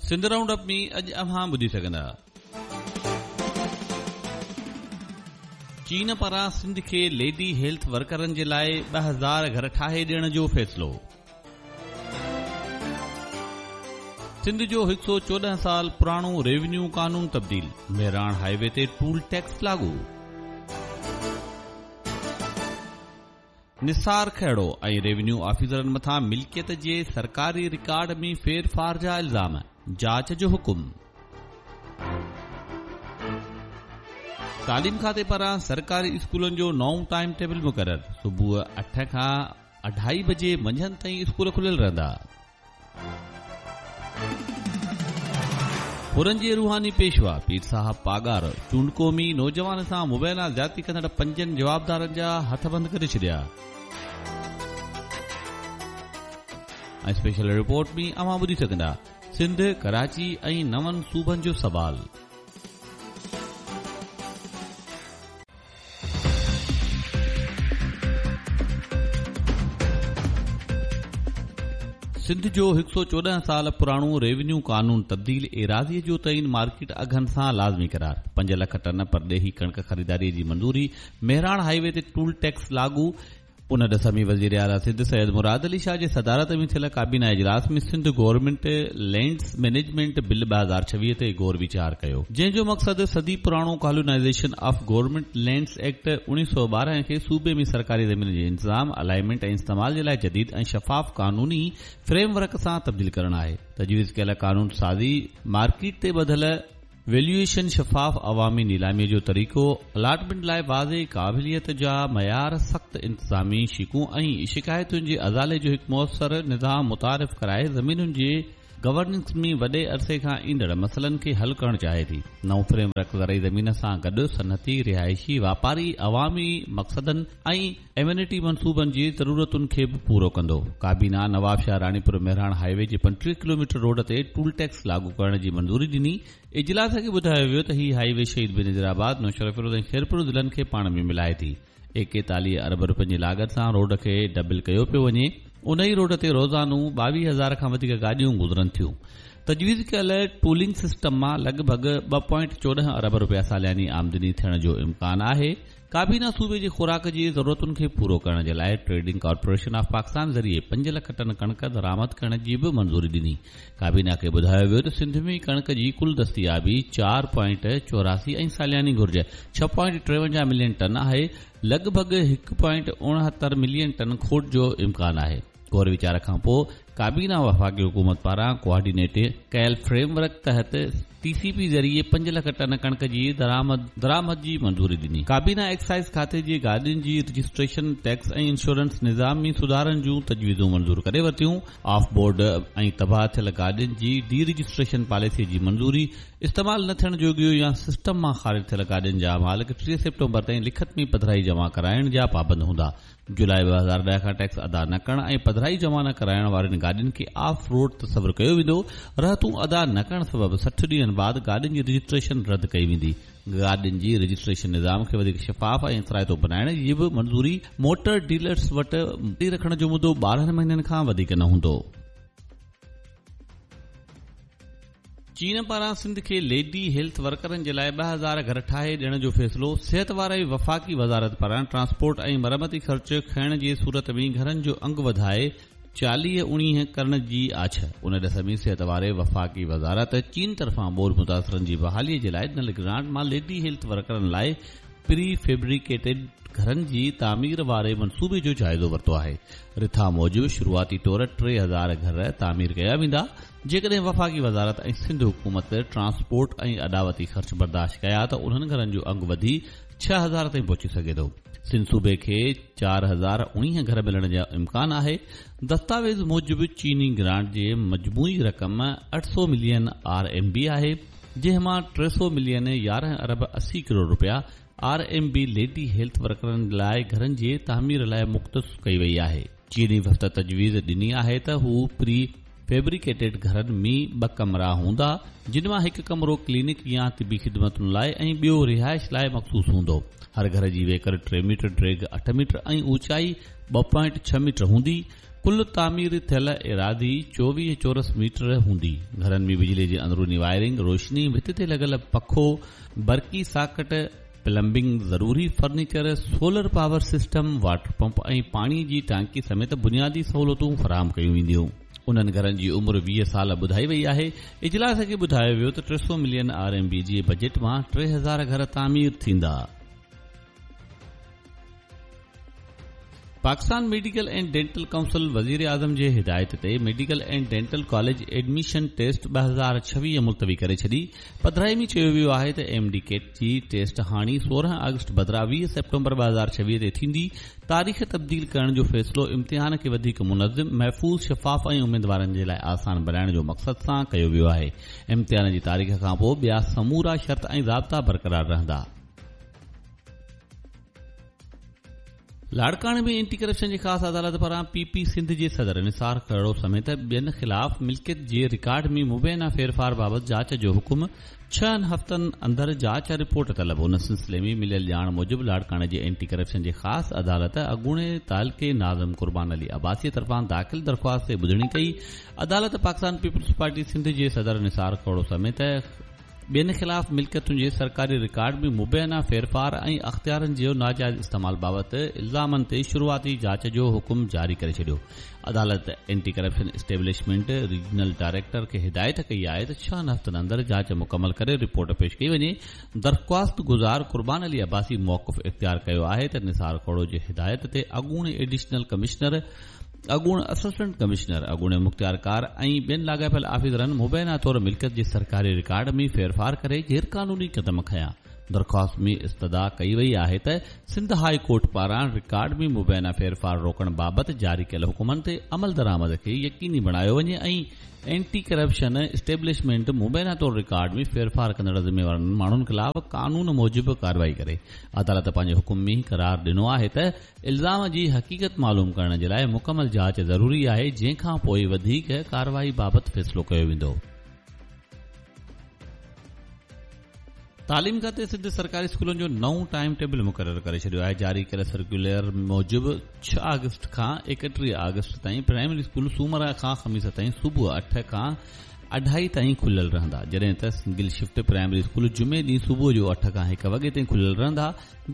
Sindh round up ۾ اڄ اوهان ٻڌي سگهندا. چين پاران سنڌ کي ليڊي هيلٿ ورڪرن جي لاء 2000 گهر ٺاهي ڏيڻ جو فيصلو. سنڌ جو 114 سال پراڻو ريونيو قانون تبديل، مهراڻ هاء وي تي ٽول ٽيڪس لاڳو. نثار کهڙو ۽ ريونيو آفيسرن مٿان ملڪيت جي سرڪاري رڪارڊ ۾ ڦيرڦار جا الزام، جاچ جو حڪم. تعليم کاتي پاران سرڪاري اسڪولن جو نئون ٽائيم ٽيبل مقرر، صبح 8 کان اڍائي بجي منجهند تائين اسڪول کليل رهندا. حرن جي روحاني پيشوا پير صاحب پاڳارو چونڊڪو ۾ نوجوان سان مبينا زيادتي ڪندڙ پنجن جوابدارن جا هٿ بند ڪري ڇڏيا. ۽ اسپيشل رپورٽ ۾ اوهان ٻڌي سگهندا سنڌ، ڪراچي ۽ نون صوبن جو سوال. سنڌ جو 114 سال پراڻو ريونيو قانون تبديل، ايراضيء جو تعين مارڪيٽ اگهن سان لازمي قرار، 5 لک ٽن پرڏيهي ڪڻڪ خريداري جي منظوري، مهراڻ هاء وي تي ٽول ٽيڪس لاڳو، ان ڏس ۾ وزيراعليٰ سنڌ سيد مراد علي شاهه جي صدارت ۾ ٿيل ڪابينا اجلاس ۾ Sindh government lands management bill 2026 تي غور ويچار ڪيو، جنهن جو مقصد صدي پراڻو colonization of government lands act 1912 کي صوبي ۾ سرڪاري زمين جي انتظام، الائنمينٽ ۽ استعمال جي لاء جديد ۽ شفاف قانوني فريم ورڪ سان تبديل ڪرڻ آهي. تجويز ڪيل قانون سازي مارڪيٽ تي ٻڌل ويليوئيشن، شفاف عوامي نيلامي جو طريقو، الاٽمينٽ لاء واضح قابليت جا معيار، سخت انتظامي شقون ۽ شڪايتن جي ازالي جو هڪ موثر نظام متعارف ڪرائي زمينن جي گورننس ۾ وڏي عرصي کان ايندڙ مسئلن کي حل ڪرڻ چاهي ٿي. نئون فريم ورڪ زرعي زمين سان گڏ صنعتي، رهائشي، واپاري، عوامي مقصدن ۽ ايمينٽي منصوبن جي ضرورتن کي به پورو ڪندو. ڪابينا نوابشاهه راڻيپور مهراڻ هاء وي جي 25 ڪلوميٽر روڊ تي ٽول ٽيڪس لاڳو ڪرڻ جي منظوري ڏني. اجلاس کي ٻڌايو ويو ته هي هاء وي شهيد بينظير آباد، نوشهروفيروز ۽ خيرپور ضلعن کي پاڻ ۾ ملائي ٿي. 41 ارب روپين جي لاڳت سان روڊ کي ڊبل ڪيو پيو وڃي. انهي روڊ تي روزانو 22,000 کان وڌيڪ گاڏيون گذرن ٿيون. تجويز ڪيل ٽولنگ سسٽم مان لڳ ڀڳ ٻه پوائنٽ 14 ارب روپيا سالياني آمدني ٿيڻ جو امڪان آهي. ڪابينا صوبي جي خوراڪ جي ضرورتن کي پورو ڪرڻ جي لاء ٽريڊنگ ڪارپوريشن آف پاڪستان ذريعي 5 لک ٽن ڪڻڪ درآمد ڪرڻ جي به منظوري ڏني. ڪابينا کي ٻڌايو ويو ته سنڌ ۾ ڪڻڪ جي ڪل دستيابي چار پوائنٽ 84 ۽ سالياني گهرج ڇهه پوائنٽ 53 ملين ٽن آهي، لڳ ڀڳ هڪ پوائنٽ 69 ملين ٽن کوٽ جو امڪان آهي. غور ويچار کانپوء ڪابينا وفاقي حڪومت پاران ڪوآرڊينيٽ ڪيل فريم ورڪ تحت ٽي سي پي ذريعي 5 لک ٽن ڪڻڪ جي درآمد جي منظوري ڏني. ڪابينا ايڪسائيز کاتي جي گاڏين جي رجسٽريشن، ٽيڪس ۽ انشورنس نظام ۾ سڌارن جون تجويزون منظور ڪري ورتيون. آف بورڊ ۽ تباهه ٿيل گاڏين جي ڊي رجسٽريشن پاليسي جي منظوري، استعمال نه ٿيڻ جوڳيون يا سسٽم مان خارج ٿيل گاڏين جا مالڪ 30 سيپٽمبر تائين لکت ۾ پڌرائي جمع ڪرائڻ جا پابند هوندا. جولاء 2010 کان ٽيڪس ادا نه ڪرڻ ۽ پڌرائي جمع نه ڪرائڻ وارين گاڏين کي آف روڊ تصور ڪيو ويندو، رهتون ادا نه ڪرڻ سبب 60 ڏينهن بعد گاڏين جي رجسٽريشن رد ڪئي ويندي. گاڏين جي رجسٽريشن نظام کي وڌيڪ شفاف ۽ اثرائتو بنائڻ جي به منظوري، موٽر ڊيلرز وٽ گاڏي رکڻ جو مدو 12 مهينن کان وڌيڪ نه هوندو. چين پاران سنڌ کي ليڊي هيلٿ ورڪرن جي لاء 2000 گهر ٺاهي ڏيڻ جو فيصلو، صحت واري وفاقي وزارت پاران ٽرانسپورٽ ۽ مرمتي خرچ کڻڻ جي صورت ۾ گهرن جو انگ وڌائي 40 اڻيهه ڪرڻ جي آڇ. ان ڏس ۾ صحت واري وفاقي وزارت چين طرفان ٻوڏ متاثرن جي بحالي جي لاء ڏنل گرانٽ مان ليڊي هيلٿ ورڪرن لاء پري فيبريڪيٽيڊ گهرن جي تعمير واري منصوبي جو جائزو ورتو آهي. رٿا موجب شروعاتي طور 3000 گهر تعمير ڪيا ويندا، جيڪڏهن وفاقي وزارت ۽ سنڌ حڪومت ٽرانسپورٽ ۽ اڏاوتي خرچ برداشت ڪيا ته انهن گهرن جو انگ وڌي 6000 تائين پهچي سگهي ٿو. سنڌ صوبي کي 4019 گهر ملڻ جو امڪان آهي. دستاويز موجب چيني گرانٽ جي مجموعي رقم 800 ملين آر ايم بي آهي، جنهن مان 300 ملين 11 ارب 80 ڪروڙ رپيا R M B lady health ورڪرن لاء گهرن جي تعمير لاء مختص ڪئي وئي آهي. چيني وفد تجويز ڏني آهي ته هو پري فيبريڪيٽيڊ گهرن ۾ ٻه ڪمرا هوندا، جن مان هڪ ڪمرو ڪلينڪ يا طبي خدمتن لاء ۽ ٻيو رهائش لاء مخصوص هوندو. هر گهر جي ويڪر ٽي ميٽر، ڊيگهه اٺ ميٽر ۽ اوچائي ٻه پوائنٽ ڇهه ميٽر هوندي. ڪل تعمير ٿيل ايراضي 24 چورس ميٽر هوندي. گهرن ۾ بجلي جي اندروني وائرنگ، روشني، ڀت تي لڳل پکو، برقي ساڪٽ، پلمبنگ، ضروري furniture, solar power system, water pump ۽ پاڻي جي ٽانڪي سميت بنيادي سهولتون فراهم ڪيون وينديون. انهن گهرن جي عمر 20 سال ٻڌائي وئي آهي. اجلاس کي ٻڌايو ويو ته 300 ملين آر ايم بي جي بجيٽ مان 3000 گهر تعمير ٿيندا. Pakistan medical and dental council وزيراعظم جي هدايت تي medical and dental college admission test 2026 ملتوي ڪري ڇڏي. پڌرائي ۾ چيو ويو آهي ته ايم ڊي ڪيٽ جي ٽيسٽ هاڻي 16 آگسٽ بدران 20 سيپٽمبر 2026 تي ٿيندي. تاريخ تبديل ڪرڻ جو فيصلو امتحان کي وڌيڪ منظم، محفوظ، شفاف ۽ اميدوارن جي لاء آسان بڻائڻ جو مقصد سان ڪيو ويو آهي. امتحان جي تاريخ کانپوء ٻيا سمورا شرط ۽ ضابطا برقرار رهندا. لاڙڪاڻي ۾ اينٽي ڪرپشن جي خاص عدالت پاران پي پي سنڌ جي صدر نثار کهڙو سميت ٻين خلاف ملڪيت جي رڪارڊ ۾ مبينا ڦيرڦار بابت جاچ جو حڪم، ڇهن هفتن اندر جاچ رپورٽ طلب. ان سلسلي ۾ مليل ڄاڻ موجب لاڙڪاڻي جي اينٽي ڪرپشن جي خاص عدالت اڳوڻي تعلقي ناظم قربان علي عباسي طرفان داخل درخواست تي ٻڌڻي ڪئي. عدالت پاڪستان پيپلز پارٽي سنڌ جي صدر نثار کهڙو سميت ٻين خلاف ملڪيتن جي سرڪاري رڪارڊ ۾ مبينا ڦيرڦار ۽ اختيارن جي ناجائز استعمال بابت الزامن تي شروعاتي جاچ جو حڪم جاري ڪري ڇڏيو. عدالت anti corruption establishment regional director کي هدايت ڪئي آهي ته ڇهن هفتن اندر جاچ مڪمل ڪري رپورٽ پيش ڪئي وڃي. درخواست گذار قربان علي عباسي موقف اختيار ڪيو آهي ته نثار کهڙو جي هدايت تي اڳوڻي ايڊيشنل ڪمشنر، اڳوڻ اسسٽنٽ ڪمشنر، اڳوڻي مختيارڪار ۽ ٻين لاڳاپيل آفيسرن مبينا طور ملڪيت جي سرڪاري رڪارڊ ۾ ڦيرڦار ڪري غيرقانوني قدم کنيا. درخواست ۾ استدعا ڪئي وئي آهي ته سنڌ هاء ڪورٽ پاران رڪارڊ ۾ مبينا ڦيرڦار روڪڻ بابت جاري ڪيل حڪمن تي عملدرآمد کي يقيني بڻايو وڃي ۽ اينٽي ڪرپشن اسٽيبلشمينٽ مبينا طور رڪارڊ ۾ ڦيرڦار ڪندڙ ذميوارن ماڻهن خلاف قانون موجب ڪارروائي ڪري. عدالت پنهنجي حڪم ۾ قرار ڏنو آهي ته الزام جي حقيقت معلوم ڪرڻ جي لاء مڪمل جاچ ضروري آهي جنهن کان پوء وڌيڪ ڪارروائي بابت فيصلو ڪيو ويندو. تعليم کاتي سنڌ سرڪاري اسڪولن جو نئون ٽائيم ٽيبل مقرر ڪري ڇڏيو آهي. جاري ڪيل سرڪيولر موجب ڇهه آگسٽ کان 31 آگسٽ تائين پرائمري اسڪول سومر کان خميس تائين صبح اٺ کان اڍائي تائين کليل رهندا جڏهن ته سنگل شفٽ پرائمري اسڪول جمعي ڏينهن صبح جو اٺ کان هڪ وڳي تائين کليل رهندا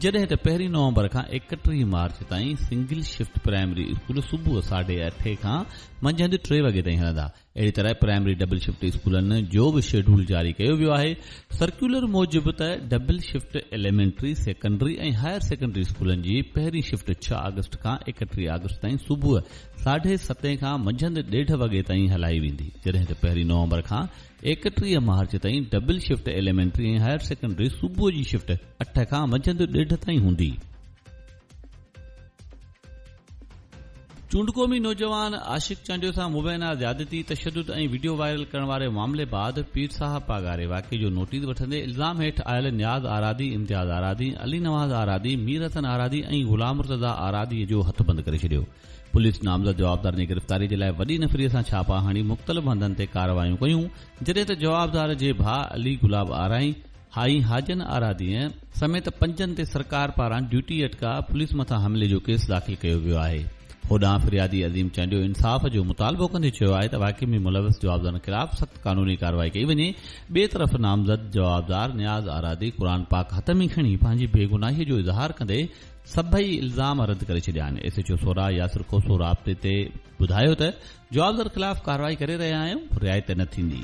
جڏهن ته پهرين نومبر کان 31 مارچ تائين سنگل شفٽ پرائمري اسڪول صبح ساڍي اٺين کان منجهند ٽي وڳي تائين هلندا. اهڙي طرح پرائمري ڊبل شفٽ اسڪولن جو به شيڊول جاري ڪيو ويو آهي. سرڪيولر موجب ته double shift elementary, secondary ۽ higher secondary اسڪولن جي پهرين شفٽ ڇهه آگسٽ کان 31 آگسٽ تائين صبح ساڍي ستين کان منجهند ڏيڍ وڳي تائين هلائي ويندي جڏهن ته پهرين نومبر کان 31 مارچ تائين double shift elementary ۽ higher secondary صبح جي شفٽ اٺ کان منجهند ڏيڍ تائين هوندي. چونڊڪو ۾ نوجوان عاشق چانڊيو سان مبينا زيادتي، تشدد ۽ وڊيو وائرل ڪرڻ واري معاملي بعد پير صاحب پاڳاري واقعي جو نوٽيس وٺندي الزام هيٺ آيل نياز آرادي، امتياز آرادي، علي نواز آرادي، مير حسن آرادي ۽ غلام مرتضيٰ آرادي جو هٿ بند ڪري ڇڏيو. پوليس نامزد جوابدارن جي گرفتاري جي لاء وڏي نفري سان ڇاپا هڻي مختلف هنڌن تي ڪارروايون ڪيون جڏهن ته جوابدار جي ڀاء علي گلاب آرائين هائي حاجن آراديء سميت پنجن تي سرڪار پاران ڊيوٽي اٽڪاء پوليس مٿان حملي جو ڪيس داخل ڪيو ويو آهي. هوڏانهن فريادي عظيم چانڊيو انصاف جو مطالبو ڪندي چيو آهي ته واقعي ۾ ملوث جوابدارن خلاف سخت قانوني ڪارروائي ڪئي وڃي. ٻئي طرف نامزد جوابدار نياز آرادي قرآن پاڪ هٿ ۾ کڻي پنهنجي بيگناهي جو اظهار ڪندي سڀئي الزام رد ڪري ڇڏيا آهن. ايس ايڇ او سورا ياسر کوسو رابطي تي ٻڌايو ته جوابدار خلاف ڪارروائي ڪري رهيا آهيون، رعايت نه ٿيندي.